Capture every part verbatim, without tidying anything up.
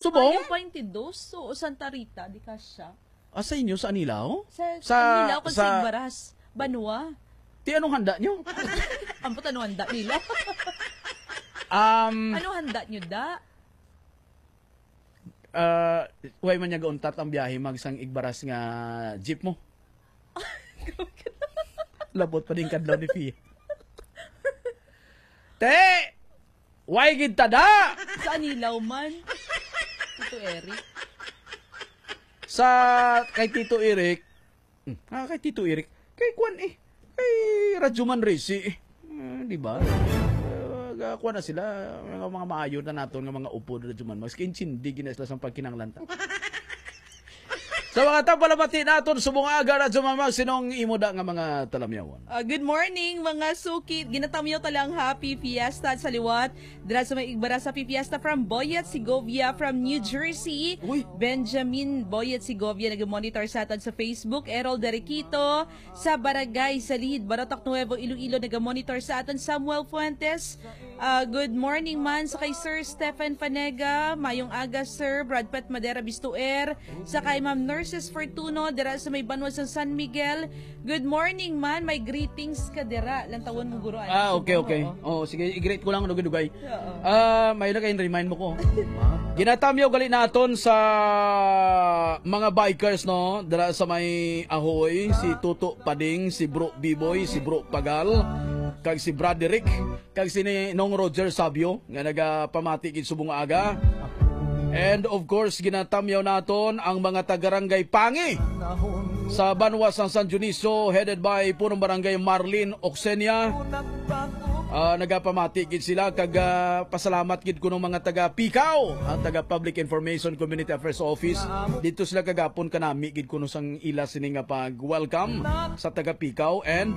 Subong? Ayaw, Paintidos o Santa Rita, di ka siya. Ah, sa inyo, sa Anilao? Sa, sa Sa, Anilao, kung sa sa Igbaras, Banwa. Ti, anong handa nyo? Ambot, anong handa nila? Um, Anong handa nyo, da? Ah, way man niya gauntat ang biyahe magsang Igbaras nga jeep mo. Labot pa din kadlaw ni Pia. Te! Way gid tada! Sa Anilao man. Tito Eric. Sa kay Tito Eric, hmm, ah, kay Tito Eric, kay kwan eh, kay Radyo Man Resi eh. Ah, di ba? Ah, ga-, kwan na sila, mga, mga maayo na naton nga mga upod, Radyo Man Max. Kay intindi gina sila sa pagkinanglan ta. Sa mga tagpalamati naton, subong aga, Radyo Man Max, sinong imo da nga mga talamyawon? Ah, good morning, mga suki. Ginatamyaw ta lang happy fiesta sa liwat. Dira sa may Igbaras, happy fiesta from Boyet Segovia from New Jersey. Uy. Benjamin Boyet Segovia nag-monitor sa aton sa Facebook. Errol Derequito sa Barangay Salid, Barotac Nuevo, Iloilo, nag-monitor sa aton. Samuel Fuentes, ah, good morning man sa kay Sir Stephen Fanega. Mayong aga, Sir. Brad Pat Madera Bistuer, sa kay Ma'am Nurses Fortuno dira sa may banwa sa San Miguel. Good morning man, may greetings ka dira. Lantawon mo, guro, ano? Ah, okay, okay. Oo. Oh, sige, i-greet ko lang, dugay-dugay. Oo. Ah, may na kayo, remind mo ko. Ginatamyaw gali naton sa mga bikers, no? Dira sa may Ahoy, si Tuto Pading, si Bro Biboy, si Bro Pagal, kag si Broderick, kag si ni Nong Roger Sabio, nga nagapamati gid subong aga. And of course, ginatamyaw naton ang mga taga-Rangay Pangi sa banwa sang San Dionisio, headed by Punong Barangay Marlene Oxenia. Ah, nagapamati gid sila kag, ah, pasalamat gid kuno mga taga Pikaw, ang taga Public Information Community Affairs Office. Dito sila kagapon kanami gid kuno sang ila sini nga pag-welcome sa taga Pikaw, and,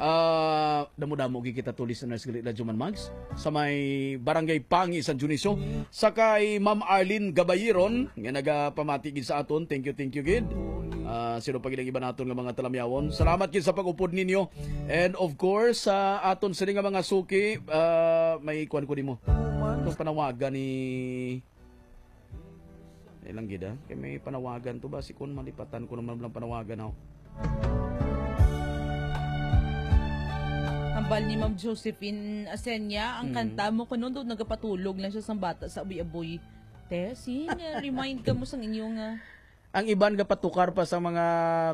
ah, damo-damo gid kita to listeners gali, Radyo Man Mags, sa may Barangay Pangi, San Dionisio. Sa kay Ma'am Arlene Gabayiron, nga nagapamati gid sa aton. Thank you, thank you gid. Ah, sino pa gid ang iba naton nga mga talamyawon? Salamat gid sa pag-upod ninyo. And of course, sa aton sini nga mga suki, ah, may kuwan ko nimo. Itong panawagan ni Ilang gid, ah. Kay may panawagan to ba? Si kun malipatan ko naman lang panawagan ako. Hambal ni Ma'am Josephine Asenya, ang Mm. kanta mo kuno daw nagapatulog lang siya sang bata sa aboy-aboy. Te, sin, remind ka mo sang inyo nga. Ang iban gapatukar pa sa mga,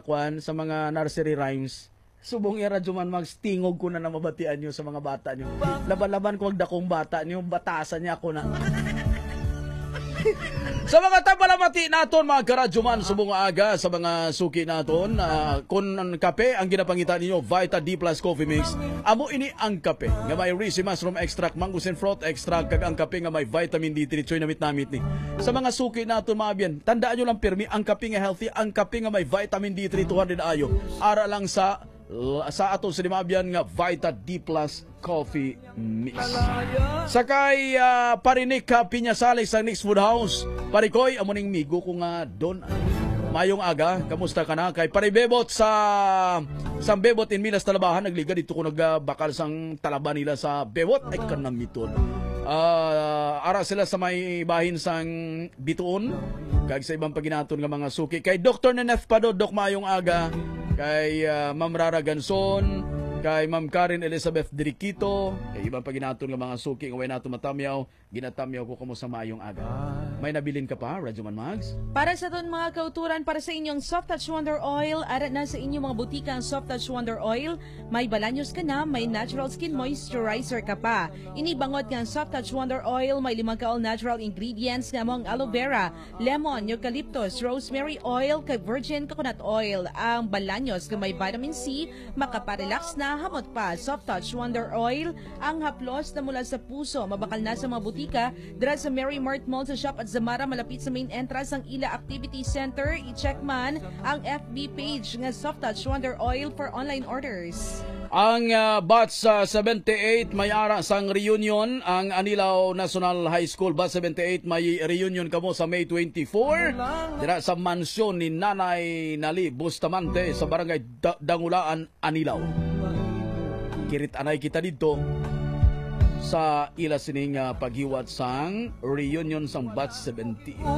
kwan, sa mga nursery rhymes. Subong iya, Radyo Man Mags, tingog ko na na mabatian nyo sa mga bata nyo. Laban-laban ko ang dakong bata nyo, batasan niya ako na. Sa mga tagpalamati naton, mga karadyo man, subong nga aga, sa mga suki naton, ah, kung ang kape ang ginapangita ninyo, Vita D plus Coffee Mix, amo ini ang kape nga may Risi Mushroom Extract, Mangosteen Fruit Extract, kag ang kape nga may Vitamin D three, choy namit-namit ni. Sa mga suki naton, mga abyan, tandaan nyo lang pirmi, ang kape nga healthy, ang kape nga may Vitamin D three, two hundred ayo, ara lang sa sa ato sa limabyan nga Vita D plus Coffee Mix. Sa kay, ah, Parinik ka Piñasales ang Next Food House. Parikoy, amo ning migo ko nga Don. Mayong aga, kamusta ka na? Kay Paribebot sa, sa Bebot in Milas Talabahan, nagliga dito ko nagbakal sang talaba nila sa Bebot. Ay, kanamiton. Ah, ara sila sa may bahin sang Bituon, kag sa ibang paginaton nga mga suki. Kay Doktor Neneth Pado, Dok, maayong aga. Kay, ah, Ma'am Rara Ganson, kay Ma'am Karen Elizabeth Diriquito, kay ibang paginaton nga mga suki nga way nato matamyaw, ginatamyaw ko kamo sa maayong aga. May nabilin ka pa, Radyo Man Mags? Para sa aton mga kauturan, para sa inyong Soft Touch Wonder Oil, ara na sa inyong mga butika ang Soft Touch Wonder Oil. May Balaños ka na, may natural skin moisturizer ka pa. Ini bangod nga ang Soft Touch Wonder Oil may limang ka all-natural ingredients nga amo ang aloe vera, lemon, eucalyptus, rosemary oil, kag virgin coconut oil. Ang Balaños nga may vitamin C, makaparelax na, hamot pa. Soft Touch Wonder Oil, ang haplos na mula sa puso, mabakal na sa mga butika, dira sa Merry Mart Mall, sa Shop at Zamara, malapit sa main entrance ang ila activity center. I-check man ang F B page nga Soft Touch Wonder Oil for online orders. Ang, ah, batch sa seventy-eight may ara sang reunion. Ang Anilao National High School, batch seventy-eight, may reunion kamo sa May twenty-four. Dira sa mansyon ni Nanay Nali Bustamante sa Barangay Da-, Dangulaan, Anilao. Kirit anay kita didto. sa ila sining, ah, paghiwat sang reunion sang batch seventeen.